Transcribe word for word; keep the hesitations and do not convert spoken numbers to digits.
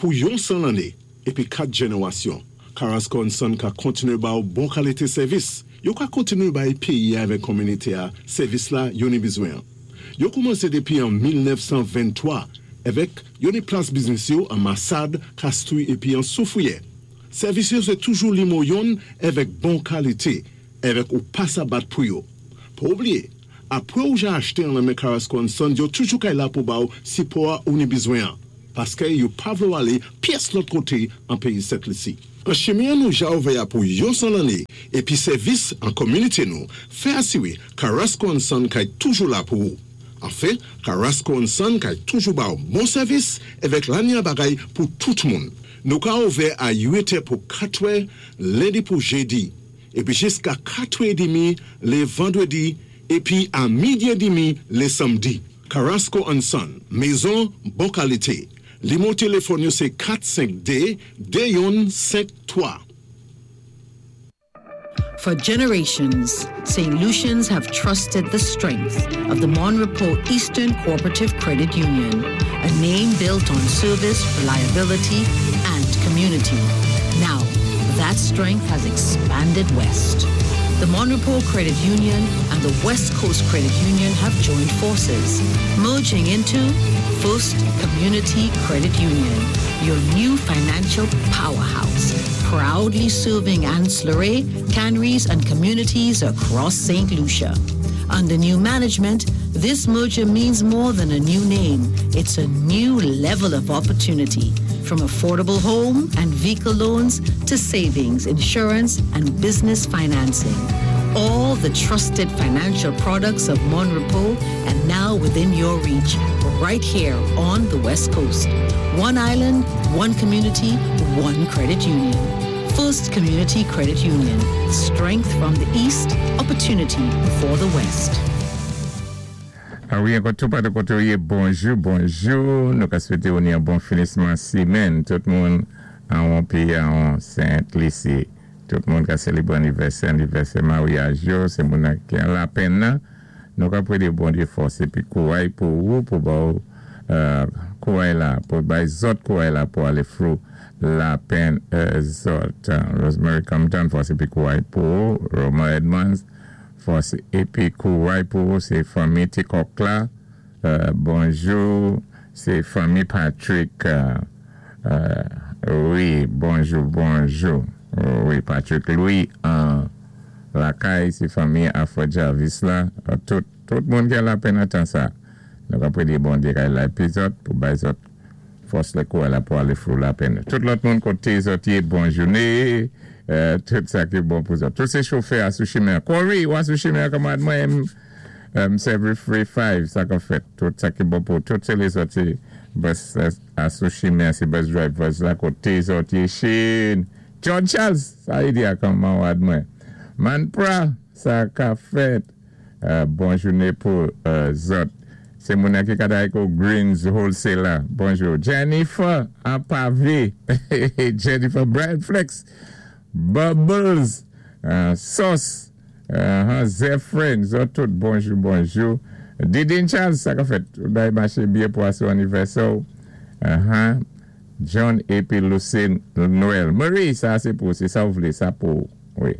Pou yon san lanné épi kat jénéwasyon, Carrasco and Son ka kontiné ba ou bon kalité sèvis. Yo ka kontiné bay péyi avèk kominité-a sèvis la yo ni bizwen. Yo koumansé dépi an mil nèf san venntwa avèk yo ni plas biznis yo an Massade, Castries épi an Soufrière. Sèvis yo sé toujou nimewo youn avèk bon kalité, avèk ou pa sa bat pou yo. Pa oubliyé, apwé ou ja achté an nan men Carrasco and Son, yo toujou kay la pou ba ou sipò ou ni bizwen. Paské yo pa vlé ou alé pyès lòt koté an péyi Sent Lisi. An chimen nou ja ouvè pou yon san lanné épi sèvis an kominité nou, fè asiwé Carrasco and Son kay toujou la pou ou. Anfen, Carrasco and Son kay toujou ba ou bon sèvis avèk lanya bagay pou tout moun. Nou ka ouvè a uit è pou kat è, lendi pou jédi, épi jiska kat è demi lé vandwédi, épi a midi édmi lé samdi. Carrasco and Son, mézon bon kalité. Nimewo téléfòn yo sé kat senk dé de youn senk twa. For generations, Saint Lucians have trusted the strength of the Mon Repos Eastern Cooperative Credit Union, a name built on service, reliability, and community. Now, that strength has expanded west. The Mon Repos Credit Union and the West Coast Credit Union have joined forces, merging into First Community Credit Union, your new financial powerhouse, proudly serving Anse La Raye, Canaries, and communities across Saint Lucia. Under new management, this merger means more than a new name. It's a new level of opportunity. From affordable home and vehicle loans to savings, insurance, and business financing. All the trusted financial products of Mon Repos and now within your reach, right here on the West Coast. One island, one community, one credit union. First Community Credit Union. Strength from the East, opportunity for the West. Ah wi, ankò tou patou koté ou yé, bonjou, bonjou. Nou ka swété ou ni yon bon finisman simenn. Tout moun an péyi an Sent Lisi. Tout moun ka sélébwé anivèsè, anivèsè maryaj yo, sé moun ki an lapenn nan. Nou ka pwédé Bondyé fòs épi kouray pou ou, pou ba ou kouray la, pou bay zòt kouray la pou alé through lapenn zòt. Rosemary Compton, fòs épi kouray pou ou. Roma Edmonds, fòs épi kouray pou ou, sé fanmi Tikok la. Bonjou, sé fanmi Patrick. Wi, bonjou, bonjou. Wi, Patrick Louis an lakay, sé fanmi Afro Jarvis la. Tout, tout moun ki an lapenn atan sa. Nou ka pwédé Bondyé kay la épi zòt pou bay zòt fòs lé kouray la pou alé through lapenn. Tout lòt moun koté zòt yé, bon jouné. Tout sa ki bon pou zòt. Tout sé chofè asou chimen. Corey, ou asou chimen kanmad mwen M seven three five, sa ka fèt. Tout sa ki bon pou tout sé lézòt sé bus asou chimen, sé bus drivers la koté zòt yé chin. John Charles, sa yi di a kanman wad mwen. Manpra, sa ka fèt. Bon jouné pou zòt. Sé moun ki kaday ko Greens Wholesaler. Bonjou. Jennifer, an pavé. Jennifer Brian Flex. Bubbles. Sauce. Zephyrin. Zòt tout. Bonjou, bonjou. Didin Charles, sa ka fèt. Day maché byen pou asou anivèsè. John épi Lucine Noël. Marie, sa sé pou. Sé sa ou vlé. Sa pou. Wi.